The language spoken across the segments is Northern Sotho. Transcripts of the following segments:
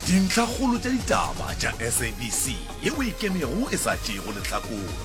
Dintlhakgolo tša ditaba tša SABC ye o e kenego e sa tšeego lehlakore.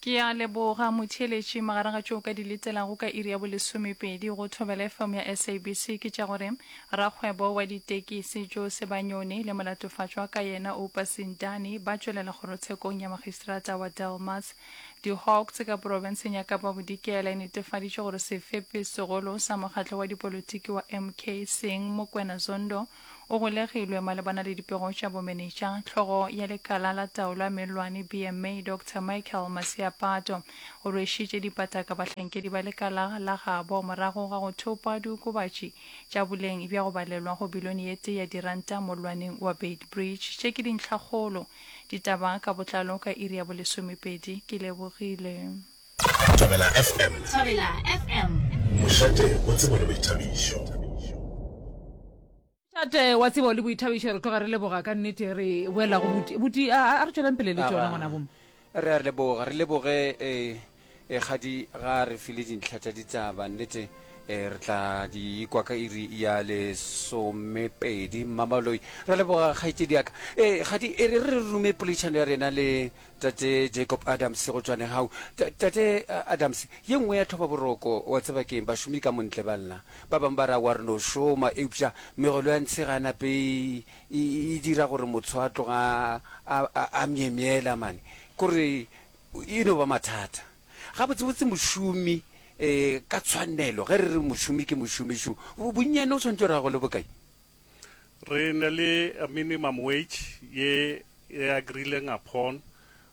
Ke a leboga motheeletši. Magareng ga tšeo o ka di letelago ka iri ya bolesomepedi go Thobela FM ya SABC ke tša gore rakgwebo wa ditekisi Joe Sebanyoni le molatofatšwa ka yena Oupa Sindane ba tšwelela kgorotshekong ya magistrata wa Delmas. Di-Hawks ka profenseng ya Kapa Bodikela e netefaditše gore sefepi segolo sa mokgatlo wa dipolotiki wa MK Seng Mokwena Zondo o golegilwe malebana le dipego tša bomenetša. Hlogo ya lekala la taolo ya mellwane BMA Doctor Michael Masiapato o rwešitše dipataka bahlankedi ba lekala la gabo morago ga go thopa diokobatši tša boleng bja go balelwa go bilione ye tee ya diranta mollwaneng wa Beitbridge. Tše ke dintlhakgolo. Ditaba ka botlalo ka iri ya bolesomepedi. Ke lebogile. Thobela FM. Thobela FM. Mošate wa tsebo le boithabišo. Mošate wa tsebo le boithabišo re tloga re leboga ka nnete re boela go buti. Buti a a re tšwelang pele le tšona ngwana bomme. Re a leboga, re leboge eh, eh, kgadi ga re file dintlha tša ditaba nnete eh, re tla di kwa ka iri ya lesomepedi. Mmamaloi, re leboga kgaetšedi ya ka. Eh, kgadi e re re rume poledišano ya rena le Tate Jacob Adams go tšwa Nehau. Tate Adams, ye nngwe ya tlhobaboroko, wa tseba keng, bašomi ka montle ba lla. Ba bangwe ba re aowa re no šoma, eupša megolo ya ntshe ga e nape e, e, e dira gore motho a tloga a, a, a myemyela mane. Kore e no ba mathata. Gabotsebotse mošomi um ka tshwanelo, ge re re mošomi ke mošomi šo, bonnyane o swanetše gore a gole bokae? Re ne le a minimum wage ye e agreeleng upon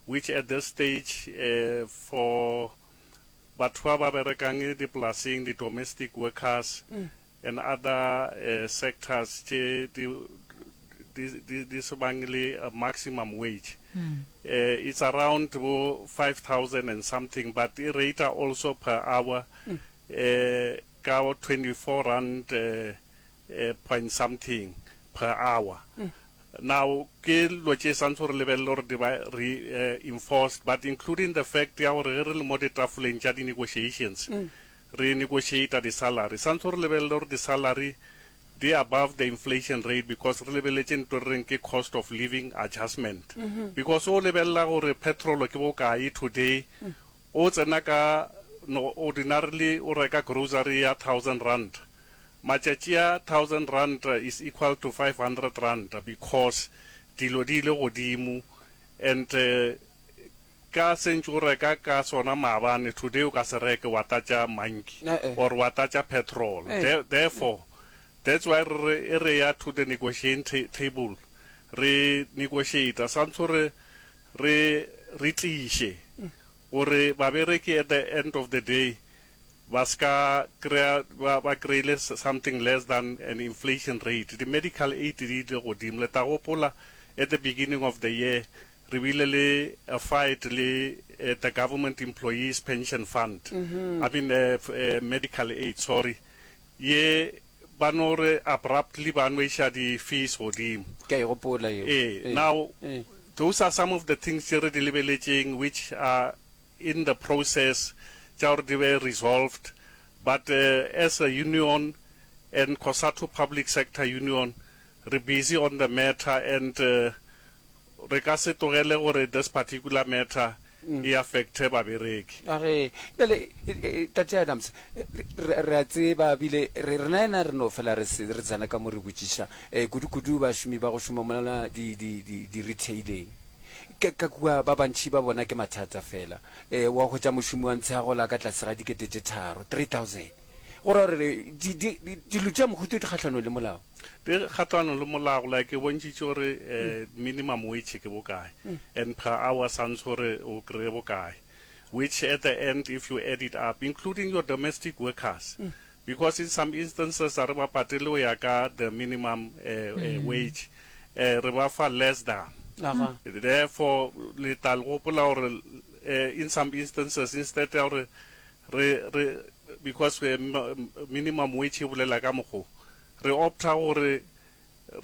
which at this stage for batho ba ba berekang dipolaseng, di domestic workers and other sectors tše di di di se bang le a maximum wage it's around bo 5000 and something but e rate also per hour ka 24 rand point something per hour. Now, ke dilo tše santse re lebelele gore di ba re enforced, but including the fact ya gore ge re le mo ditafoleng tša di-negotiations, re negotiata di-salary, santse re lebelele gore di-salary di above the inflation rate because re lebeletše ntho re reng ke cost of living adjustment. Because o lebelela gore petrol ke bokae today, o tsena ka no ordinarily o reka grocery ya R1000, Matšatši a thousand rand is equal to 500 rand because dilo di ile godimo and ka se ntše o reka ka sona maabane today o ka se reke wa tlatša manki or wa tlatša petrol. Therefore that's why re re e re ya to the negotiating table re negotiate santse re re re tliše gore babereki at the end of the day ba se ka kry-a ba, ba kry-ile something less than an inflation rate. Di-medical aid di ile godimo. Le tla gopola at the beginning of the year re bile le a fight le the government employees pension fund, I mean medical aid, sorry, ye ba no re abruptly ba no iša di-fees godimo. Ke a e gopola yeo. Ee, now those are some of the things tše re di lebeletšeng which are in the process tša gore di be resolved but as a union and Cosatu Public Sector Union re busy on the matter and re ka se tlogele gore this particular matter e affecte babereki. A re, Bjale, Tate Adams, re, re a tseba, bile re, rena yena re no fela re se, re tsena ka mo re botšiša, kudu-kudu bašomi ba go šoma mola di, di, di, di-retaileng. Ka, ka kua, ba bantši ba bona ke mathata feela. E, wa hwetša mošomi wa ntshe a gola ka tlase ga dikete tše tharo, 3000. Go ra gore di, di, di, dilo tša mohuta di kgahlanong le molao. Di kgahlanong le molao, like ke bontšhitše gore eh, minimum wage ke bokae, and per hour santse gore o kry-e bokae, which at the end if you add it up, including your domestic workers, Because in some instances a re ba patele go ya ka the minimum wage, re ba fa less than. Therefore le tla le gopola gore in some instances instead ya gore re re because minimum wage e bolela ka mokgo, re opta gore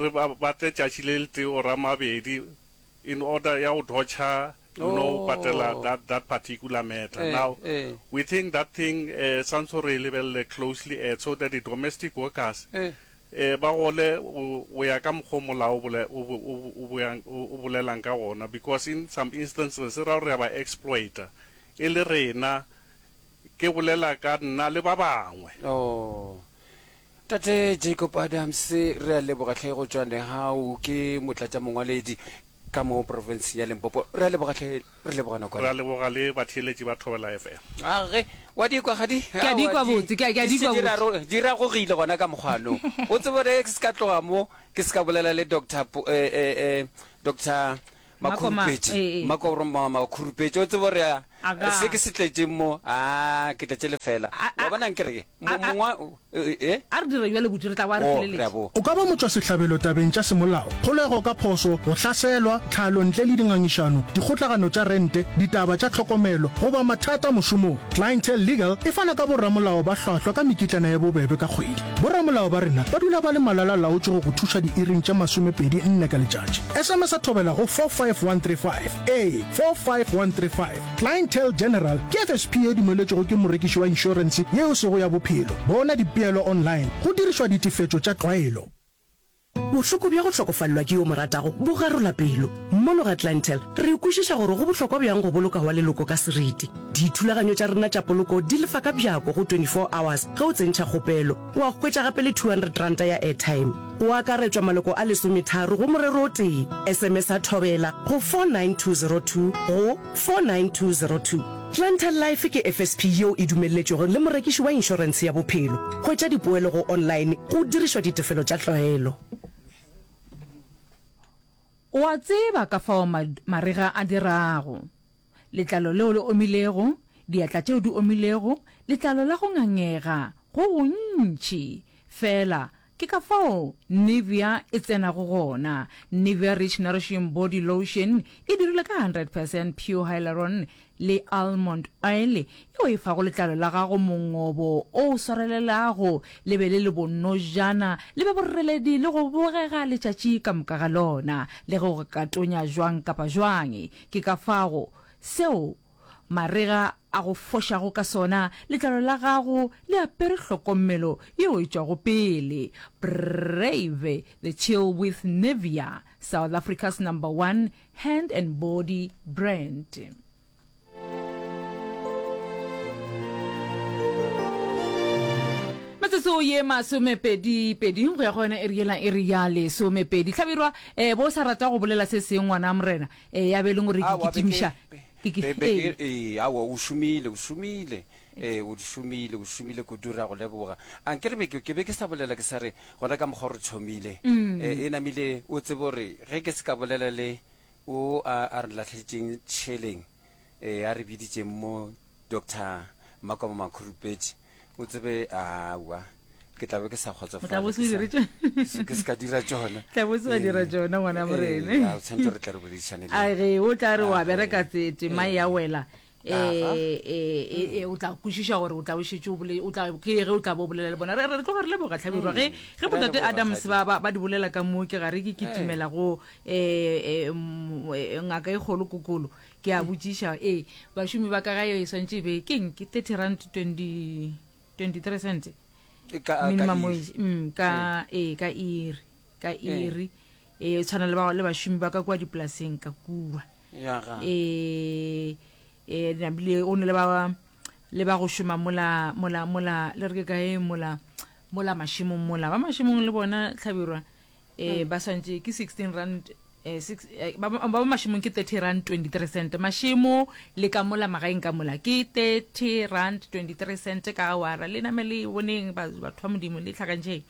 re ba batle tšatši le letee or a mabedi in order ya go dodger you know patela that that particular matter. Now we think that thing santse re e lebelele closely at so that the domestic workers. Eh, ba gole go, go ya ka mokgwa o molao o bole, o, o, o, boyang, o, o bolelang ka gona, because in some instances e ra gore re a ba exploiter e le rena, ke bolela ka nna le ba bangwe. Oh. Tate Jacob Adams, re a leboga hle go tšwa Nehau, ke motlatšamongwaledi ka mo profenseng ya Limpopo. Re a leboga hle, re leboga nako. Re a leboga le batheeletši ba Thobela FM. Age, wa di kwa kgadi? Ke a di kwa botse, ke a ke a di kwa botse. Di ragogile gona ka mokgwano. O tsebe gore ke se ka tloga mo, ke se ka bolela le Doctor eh, eh, eh, Doctor Makhurupetše. Makoma Makhurupetše, o tsebe gore se ke se tletšeng mo, a ke tletše lefela. Wa bona nkere ke mongwa e? A re dire bjalo buti, re tla boa re feleletše. O ka ba motšwasehlabelo tabeng tša semolao, kgolego ka phoso, go hlaselwa, tlhalo ntle le dingangišano, dikgotlagano tša rente, ditaba tša tlhokomelo, goba mathata mošomong. Clientele Legal e fana ka boramolao ba hlwahlwa ka mekitlana ye bobebe ka kgwedi. Boramolao ba rena ba dula ba le malala-laotšwe go go thuša diiring tše 24 ka letšatši. SMS-a thobela go 45135. Ee, 45135. Clientele General ke FSP ye dumeletšwego ke morekiši wa inšorense ye e sego ya bophelo. Bona dipeelo online go dirišwa ditefetšo tša tlwaelo. Bohloko bja go hlokofalelwa ke yo o mo ratago bo garola pelo. Mono ga Clientele, re kwešiša gore go bohlokwa bjang go boloka wa leloko ka seriti. Dithulaganyo tša rena tša poloko di lefa ka bjako go 24 hours ge o tsentšha kgopelo. Wa hwetša gape le R200 ya airtime. Go akaretšwa maloko a lesometharo go morero o tee. SMS-a Thobela go 49202 go 49202. Clientele Life ke FSP yeo e dumelletšwego le morekiši wa inšorentshe ya bophelo. Hwetša dipoelo go online go dirišwa ditefelo tša tlwaelo. O a tseba ka fao marega a dirago. Letlalo leo le omilego, diatla tšeo di omilego, letlalo la go ngangega, go gontši. Feela, ke ka fao Nivea e tsenago gona. Nivea Rich Nourishing Body Lotion e dirilwe ka 100 percent pure hyaluron le almond oil yeo e fago letlalo la gago mongobo o swarelelago, le be le le bonojana, le be boreledi le go bogega letšatši ka moka ga lona, le ge go ka tonya jwang kapa jwang. Ke ka fago seo marega a go fošago ka sona, letlalo la gago le apere hlokomelo yeo e tšwago pele. Brave the chill with Nivea, South Africa's number one hand and body brand. Metsotso ye masomepedi-pedi go ya go yona iri yela iri ya lesomepedi. Hlabirwa, eh, bo sa rata go bolela se seng ngwana morena, eh, ya be e leng gore ke Aowa, be ke, kitimiša. be, Ke ki, be, be ee. ke, ee, aowa, o šomile, o šomile, ee, o šomile, o šomile kudu, re a go leboga. A nke re be ke, ke be ke sa bolela ke sa re, gona ka mokgwa o re thomile, e, e namile o tsebe gore ge ke se ka bolela le o a, a re lahletšeng tšheleng, ee, a re biditšeng mo Doctor Makomo Makhurupetše, o tsebe, aowa, ke tla be ke sa O tla kgotsofala, bo ke se sa, dire tšona. se- ke se ka dira tšona. Tla bo se wa dira Ee, tšona ngwana ee, morena. a o tshwanetse re tle re boledišane le A yena. ge o tla re wa Age, bereka tse tema ee, ya wela aga. eh eh eh o tla kwešiša gore o tla o šetše o bole o tla ke ge o tla bo bolela le bona re re tloga re leboga hlabirwa ge ge Re a botate leboga, Adams Kgadi. ba ba ba di bolela ka mo ke gare ke Ee. kitimela go eh eh mm, ngaka e kgolo kokolo Ke a botšiša, ee, bašomi ba ka gae e swantše e be ke eng? Ke 30 rand 20, 23 cents? Ka, ka Minimum iri. wage, mm, ka, ee, ka iri, ka Ee. iri. Ee, e tshwana le ba, le bašomi ba ka kua dipolaseng ka kua. Ya ga. Ee, ee, nabile o ne le ba, le ba go šoma mola, mola, mola, le re ke kae mola, mola mašemong mola. Ba mašemong le bona, Hlabirwa, Ee, ba swantše ke 16 rand eh, six, eh, ba ba ba mašemong ke 30 rand 23 cent mašemo le ka mola magaeng ka mola ke 30 rand 23 cent ka awara le name le boneng ba- batho ba modimo le tlhakantšheng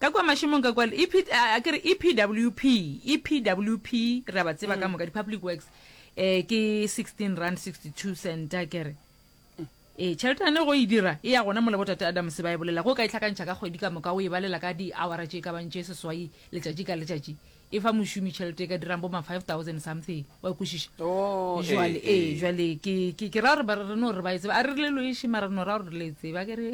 ka kua mašemong ka kua EP, a ke re epwp epwp re a ba tseba ka moka di-public works eh, ke 16 rand 62 cent a ke re Ee, tšhelete yane go e dira e ya gona mola botate Adams ba e bolela. Ge o ka e hlakantšha ka kgwedi ka moka, o e balela ka diawara tše e ka bang tše seswai letšatši ka letšatši, E fa mošomi tšhelete e ka dirang bo ma 5000 something. Wa kwešiša? Oh, Jwale, ee, ee, ee. jwale ke, ke, ke ra gore ba re no re ba e tseba. A re re le loeše, mara re no ra gore re le e tseba. Ke re,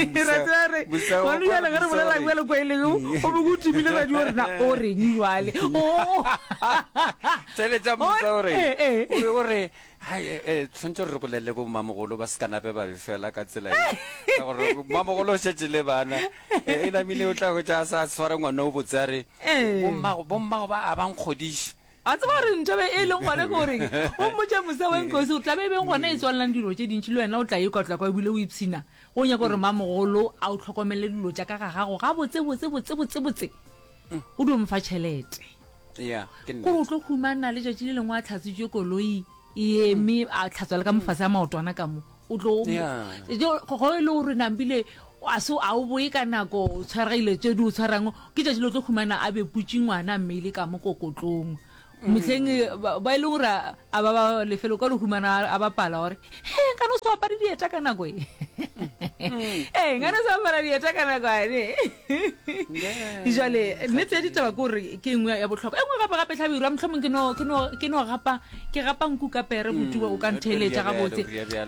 Mosa- ra tseba re, mosa wa gone bjale ge re mosa bolela wa re- bjale kwa e leng, o be o timile radio gore na o reng jwale. Oh. Theeletša mosa o re, Ee, ee. o be o re, Hai, eh, eh, tshwanetse gore re bolelele bo mmamogolo ba se ka nape ba befela ka tsela e. Ka gore mmamogolo o šetše le bana. Eh, e namile o tla hwetša a sa tshware ngwana o botse a re, Ee. bommago, bommago ba a ba nkgodiše. A tseba gore ntho be e leng gona ke gore o mmotša mosa wa nkosi gore taba e beng gona e tswalelang dilo tše dintši le wena o tla ikwa tla kwa ebile o ipshina. Go nyaka gore mmamogolo a o tlhokomele dilo tša ka ga gago gabotse botse botse botse botse. O dio mfa tšhelete. Ya, ke Gore o nnete. tlo humana letšatši le lengwe a tlhatswitše koloi e eme a tlhatswa le ka mofase a maotwana ka mo. O tlo Ya. go e le gore nampile a se a o boe ka nako o tshwaregile tše di o tshwarang ke tšatši le o tlo humana a beputše ngwana a mmeile ka mo kokotlong. Mehleng ba ba e leng gore a ba ba lefelo ka le humana a bapala gore he nkane o se apare dieta ka nako e. Ee nkane o se apara dieta ka nako ane. Jwale nnete ya ditaba ke gore ke nngwe ya bohlokwa. E nngwe gape gape Hlabirwa mohlomong ke no ke no ke no gapa ke gapa nku ka pere botuwa o ka ntheeletša gabotse.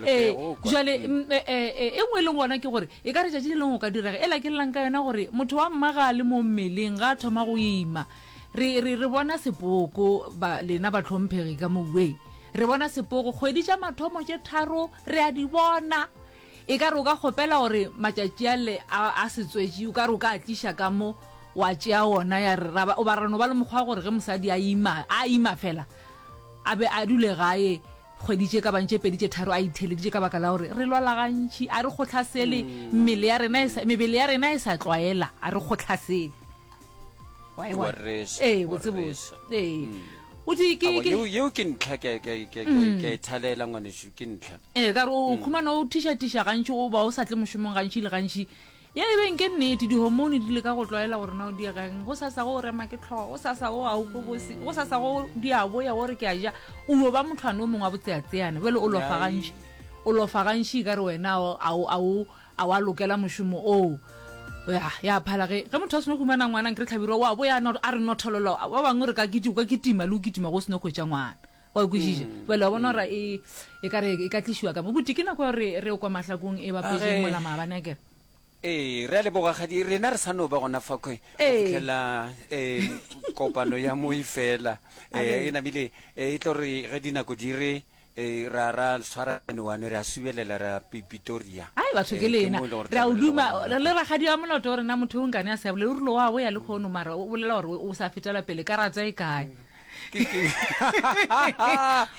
Ee jwale e nngwe e leng gona ke gore e ka re tšatši le lengwe o ka direga ela ke llang ka yona gore motho wa mma ga a le mo mmeleng ga a thoma go ima Re, re, re bona sepoko, ba, lena bahlomphegi ka mo wei. Re bona sepoko, kgwedi tša mathomo tše tharo, re a di bona. E ka re o ka kgopela gore matšatši ale a, a setswetši, o ka re o ka a tliša ka mo, wa tšea wona, ya re, ra ba, goba ra no ba le mokgwa wa gore ge mosadi a ima, a ima fela, a be a dule gae kgwedi tše ka bang tše pedi tše tharo a itheleditše ka baka la gore re lwala gantši, a re kgohlasele, mmele ya rena e sa, mebele ya rena e sa tlwaela, a re kgohlasele. Wa e Wa bona? reša, Ee, wa botse botse. reša. Ee. O di ke Aowa, ke yeo yeo ke ntlha ke ke ke ke ke a e thalela ngwanešu ke ntlha. Ee, ka re o khumana o thiša-thiša gantši o ba o sa tle mošomong gantši le gantši. Ya e beng ke nnete, dihormone di leka go tlwaela gore na o diregeng. Go sasa go o rema ke hlogo, go sasa go ga o kwe bose, go sasa go di a boya o re ke a ja. O yo ba mothwane o mongwe wa botseatseana. Bjale o lofa Ai. gantši. O lofa gantši e ka re wena a o a o A wa lokela mošomo oo? Ya, ya phala ge, ge motho a seno humana ngwana, nkere Hlabirwa o a boya a no, a re nothololo, ba bangwe re ka kiti, o ka kitima le go kitima go seno hwetša ngwana. Wa kwešiša? Bjale wa bona gore e, e ka re e ka tlišiwa ka mo. Buti, ke nako ya gore re ye kwa mahlakong e bapetšeng Age. mola maabane, akere? Ee, re a leboga kgadi, rena re sa no ba gona fa kwe, go Ee. fihlela um kopano ya mo e fela. Um Age. e namile e tlo re ge dinako di re Ee, ra, ra swara one, re a subelela, ra pi, Pitoria. Ai, batho ke Ee, ke lena. mo e le gore Re a o tlabe re le duma, gona. le rakgadi wa moloto o rena motho o nkane a sa bolele, o rile wa boya lekgono mara o bolela gore o sa fetela pele, karata e kae? Ke, ke.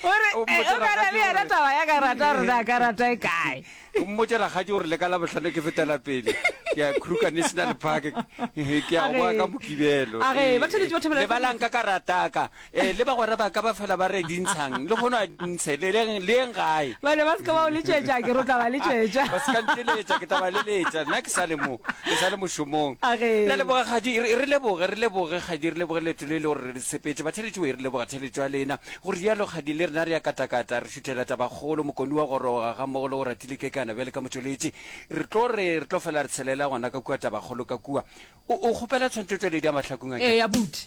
O re, O eh, mmotše o ka re rakgadi le yena gore- taba ya karata gore na karata e kae? O mmotše rakgadi gore le ka Labohlano ke fetela pele, ke ya Kruger National Park, ke ya go boa ka Mokibelo. Age, Ee, ba tshwanetse ba thobela- lebalang ka karata ka. Ee, le bagwera ba ka ba fela ba re di ntshang, le kgono a di ntshe, le leng, le yeng gae. Ba ne ba se ka ba o letšetša, ke re o tla ba letšetša. Ba se ka nteletša, ke tla ba leletša. Nna ke sa le mo, ke sa le mošomong. A ge. Re a leboga, Kgadi, re, re leboge, re leboge, Kgadi, re leboge leeto le le gore re sepetše. Batheeletši we, re leboga theeletšo ya lena. Go rialo, Kgadi, le rena re a katakata, re šuthela tabakgolo, Mokoni wa goroga, gammogo le go Ratile Kekana bjale ka motšweletši. Re tlo re, re tlo fela re tshelela gona ka kua tabakgolo ka kua. O, o kgopela tshwantšhotšweledi ya mahlakong a Ee, abuti.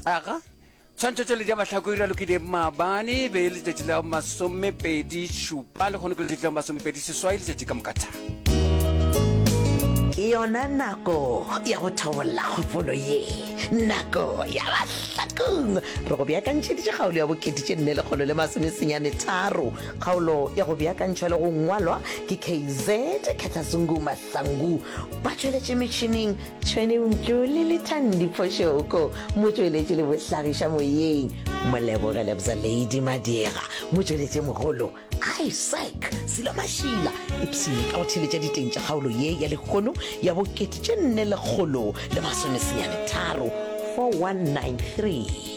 Aga. Tshwantšhotšweledi ya mahlako e ralokile maabane, e be e le letšatši la masomepedi šupa, lehono ke letšatši la masomepedi seswai, letšatši ka moka tha. Ke yona nako ya go thobolla kgopolo ye, nako ya Mahlakong. Re go beakantšheditše kgaolo ya bokete tše nne lekgolo le masomesenyane tharo. Kgaolo ya go beakantšhwa le go ngwalwa ke KZ Khetha Zungu Mahlangu. Ba tšweletše metšhineng Tšhwene Mtšole le Thandi Phošoko, motšweletši le bohlagiša moyeng Moleboge Lebza Lady Madira, motšweletši mogolo Isaac Silo Mašila. Ipshine ka go theeletša diteng tša kgaolo ye ya lehono ya bokete tše nne lekgolo le masomesenyane tharo, 4193.